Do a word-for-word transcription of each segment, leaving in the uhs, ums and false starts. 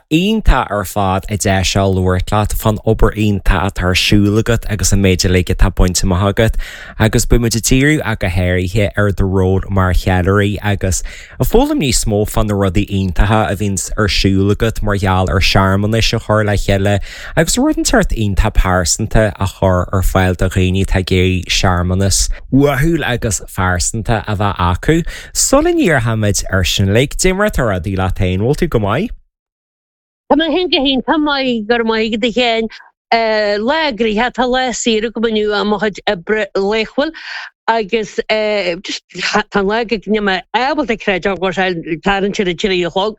iontach ar fad an deis seo labhairt leat fán obair iontach atá ar siúl agat agus an méid uilig atá bainte amach agat, agus beimid ag díriú ach go háirithe ar do ról mar cheiliúraí agus ag foghlaim níos mó fá na rudaí iontacha a bhíonn ar siúl agat mar gheall ar searmanais a chur le chéile agus rud inteacht iontach pearsanta a chur ar fáil do dhaoine atá ag iarraidh searmanas uathúil agus phearsanta a bheith acu. Sula ndíreoimid ar sin like, cad é mar atá rudaí leat féin, bhfuil tú go maith? Tá mé féin go hiontach maith go raibh maith agat a Sheáin lá gnoitheach tá lá saor agam inniu ó mo chuid oibre laethúil agus just tá an lá go níl mé ábalta creid go sé tarraingt ar a trí a chlog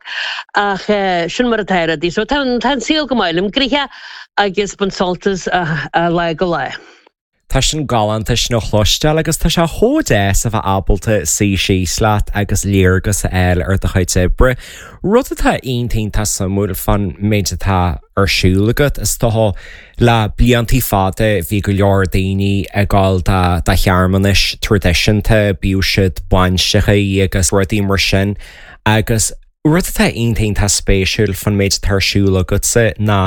ach sin mar atá rudaí so tá tá an saol go maith liom gnoitheach agus baint sult as lá go lá. Tá sin galánta sin a chloisteáil agus tá sé chomh deas a bheith ábalta suí síos leat agus léargas a fháil ar do chuid oibre. Rud atá iontach suimiúil fán méid atá ar siúl agat is dócha le blianta fada bhí go leor daoine ag dul do do shearmanais traidisiúnta bíodh siad bainiseacha agus rudaí mar sin agus rud atá iontach spéisiúil fán méid atá ar siúl agatsa ná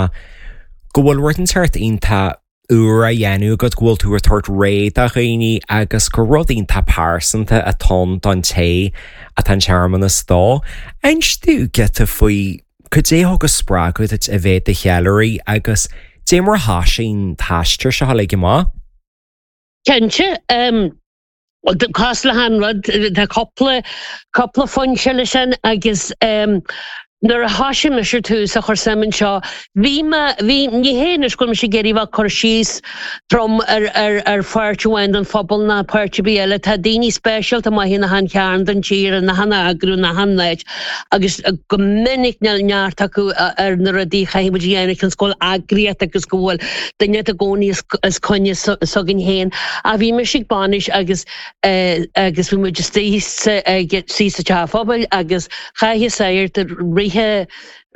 go bhfuil rud inteacht iontach úr á dhéanamh agat go bhfuil tú ag tabhairt réidh do dhaoine agus gur rud iontach pearsanta atá ann don té atá an searmanas dó. Inis dúinn giota faoi cad é a thug spreagadh duit a bheith i do cheiliúraí agus cad é mar a thosaigh an t-aistear seo le amach. Cinnte um, cos le han rud tá cúpla cúpla foinse leis sin agus um, nuair a thosaigh mise tús a chur suim anseo bhí mé bhí ní hé anois go sé géirí bheith cur síos trom ar ar ar pháirt amháin den phobal ná páirt ar bith eile tá daoine speisialta maith in achan chearn den tír in achan eagrú in achan áit agus go minic neart acu ar na rudaí chaithfidh muid a dhéanamh chun scoil eagraíocht agus go bhfuil duine i gcónaí is coinne s'againn féin a bhí mise ag bainis agus agus bhí muid istigh ag sí sa teach pobail agus chaith sagart ríthe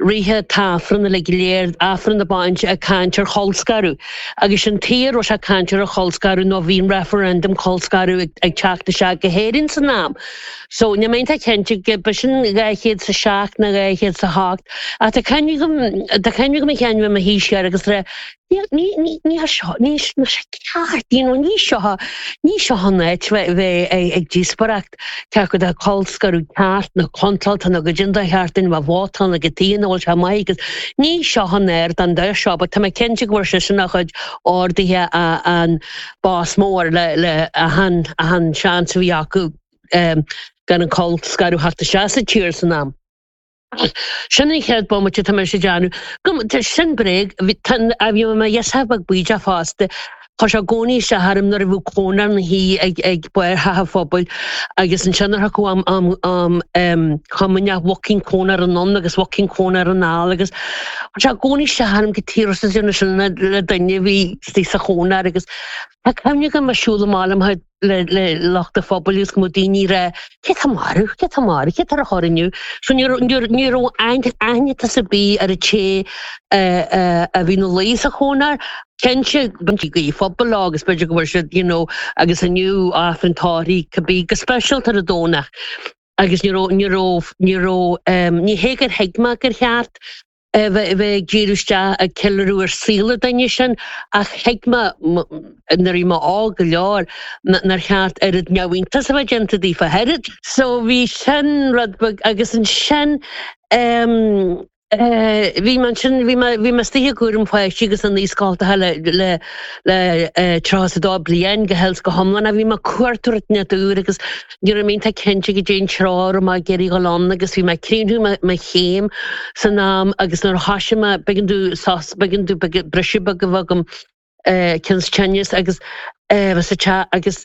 ríthe t-aifreann le go léir aifreann na bainise ag caint ar cholscaradh agus an tír sé caint ar a cholscaradh nó bhí an referendum colscaradh ag teacht isteach go hÉirinn san am. So ní mé cinnte go ba sin dhá chéad sa seacht nó dhá chéad sa hocht a tá cuimhne agam a chean me hísear agus re ní ní seo ní ceart ní seo ní seo an áit bheith ag díospóireacht cé acu de colscaradh ceart nó contráilte nó go dtí do cheartain a vótáil go tí bhfuil sé maith agus ní seo an air don de seo, but tá mé cinnte go bhfuair sé sin a chuid orduithe an bás mór le le achan achan seans a bhí acu um, gan an colscaradh theacht isteach sa tír san am. Sin an chéad bomaite tá mé sé déanamh. Sin bréag a bhí mé yes beag buíde fosta. Tá sé gcóí se harm nuair a bhí cónar na hí ag ag buirthe phobail agus ansin chu am am am um, chumanne walking cónar anonn agus walking cónar anall agus sé gcóí se harm go tíir sin le duine bhí tí sa chónar agus Tá cuimhne agam siúl amach le le lucht an phobail agus go daoine rá cé tá marbh cé tá marbh cé tar a choinniu so ní raibh aithne ar bith ar an té a bhí ina luí sa chónar Cinnte go phobal agus b'fhéidir go bhfuil siad you know agus inniu aifreann tórraimh cibé go speisialta ar an Domhnach agus ní raibh ní raibh ní raibh ní hé gur thuig mé gur cheart bheith ag díriú isteach ag ceiliúradh ar saol an duine sin ach thuig mé nuair a bhí mé óg go leor nár cheart oiread neamhiontas a bheith déanta daofa oiread. So bhí sin rud beag agus ansin um, bhí man sin bhí bhí mé istigh i gcúram páistí agus an naíscoil le le le tríocha a dó bliain go heils go hiomlán a bhí mé cuartúirt na dúr agus ní raibh mé cinnte go dtéon tráth má géirí go lon agus bhí mé ag críochnú mo chéim san am agus nuair a thosaigh mé b'éigean domh sos b'éigean domh briseadh beag a bheith agam cionn tinneas agus sa teach agus